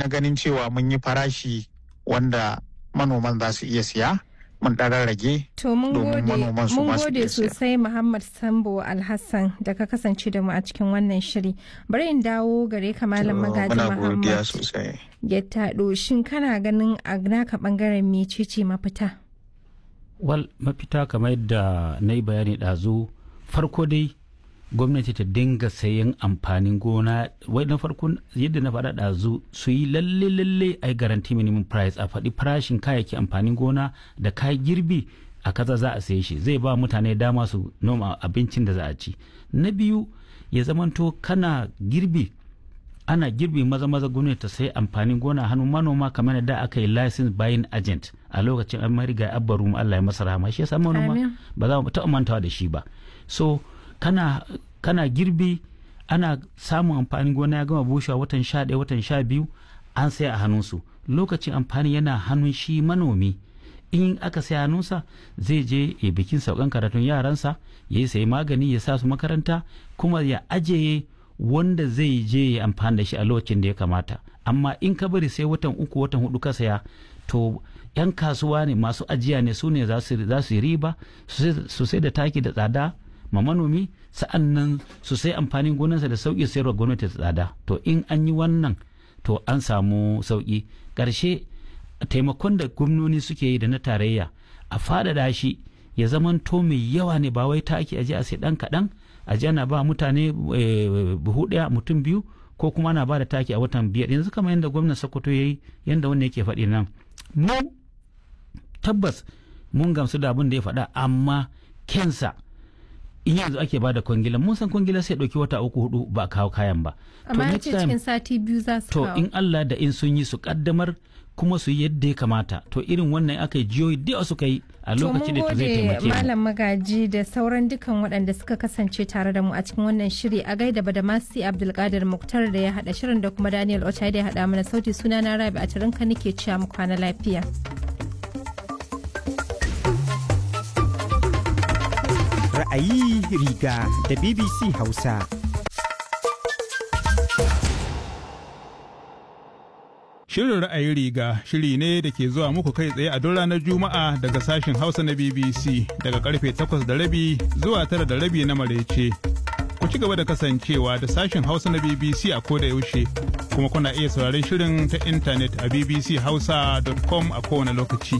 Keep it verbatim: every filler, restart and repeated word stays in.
na ganin cewa mun yi farashi wanda manoman za su iya siya, mun ɗan rage. To mun domin gode, manoman su mun ma su gode iya siya. sosai Muhammad Sambo Alhassan da ka kasance da mu a cikin wannan shiri. Bari in dawo gare ka, Malam To, Magaji muna godiya Muhammad sosai. Gettado. Shin kana ganin a naka bangaren mecece mafita? Wal, mafita kamar yadda na yi bayani ɗazu, farko dai gwamnati ta dinga sayan amfanin gona. Wai na farko, yadda na faɗa ɗazu, su yi lalle lalle a yi guarantee minimum price, a faɗi farashin kayayyaki amfanin gona da kayan girbi a kaza za a saye shi, zai ba mutane dama su noma abincin da za a ci. Na biyu, ya zamanto kana girbi, ana girbi, maza maza gwamnati ta sai amfanin gona hannun manoma, kamar da aka yi license buying agent a lokacin an mariga Abba Rumu, Allah ya masa rahama, shi yasa manoma Amin. ba za mu taɓa mantawa da shi ba. So kana kana girbi, ana samun amfanin gona ya gama bushewa watan sha ɗaya, watan sha biyu, an sai a hannunsu. Lokacin amfani yana hannun shi manomi, in aka sai hannunsa zai je ya bikin saukan karatun yaransa, ya yi sayi magani ya sa su makaranta, kuma ya ajiye wanda zai je ya amfani da shi a lokacin da ya kamata. Amma in ka bari sai watan uku, watan hudu ka saya, to yan kasuwa ne masu ajiya ne, su ne za su za su yi riba, su sai da taki da tsada ma manomi, sa'an nan su sai amfanin gonarsa da sauki, sayarwa gwamnati da tsada. To in an yi wannan, to an samu sauki. Ƙarshe, taimakon da gwamnoni suke yi da na tarayya a faɗaɗa shi ya zamanto mai yawa ne, ba wai taki aje a sai ɗan kaɗan, aje ana ba mutane eh, buhu ɗaya mutum biyu, ko kuma ana ba da taki a watan biyar yanzu kamar yadda gwamnan Sokoto ya yi, yadda wannan yake faɗi nan. Mu tabbas mun gamsu da abin da ya faɗa, amma kensa in yanzu ake ba da kwangila, mun san kwangila sai ɗauki wata uku, hudu ba a kawo kayan ba. Amma ya next ce time- cikin sati biyu za su to kawo. in Allah da in sun yi, su kaddamar kuma su yi yadda ya kamata, to irin wannan aka yi jiyoyi da yawa suka yi a To mun lokacin da zai gode, taimake mu. Malam Magaji da sauran dukan waɗanda suka kasance tare da mu a cikin wannan shiri. A gaida Badamasi Abdulkadir Muktar da ya haɗa shirin da kuma Daniel Ochai da ya haɗa mana sauti. Suna na Rabi a Tarinka nake cewa mu kwana lafiya. Ra'ayi riga da B B C Hausa. Shirin Ra'ayi Riga shiri ne da ke zuwa muku kai tsaye a duk ranar Juma'a daga sashen Hausa na B B C daga karfe takwas da rabi zuwa tara da rabi na maraice. Ku ci gaba da kasancewa da sashen Hausa na B B C a koda yaushe, kuma kuna iya sauraron shirin ta intanet a b b c hausa dot com a kowane lokaci.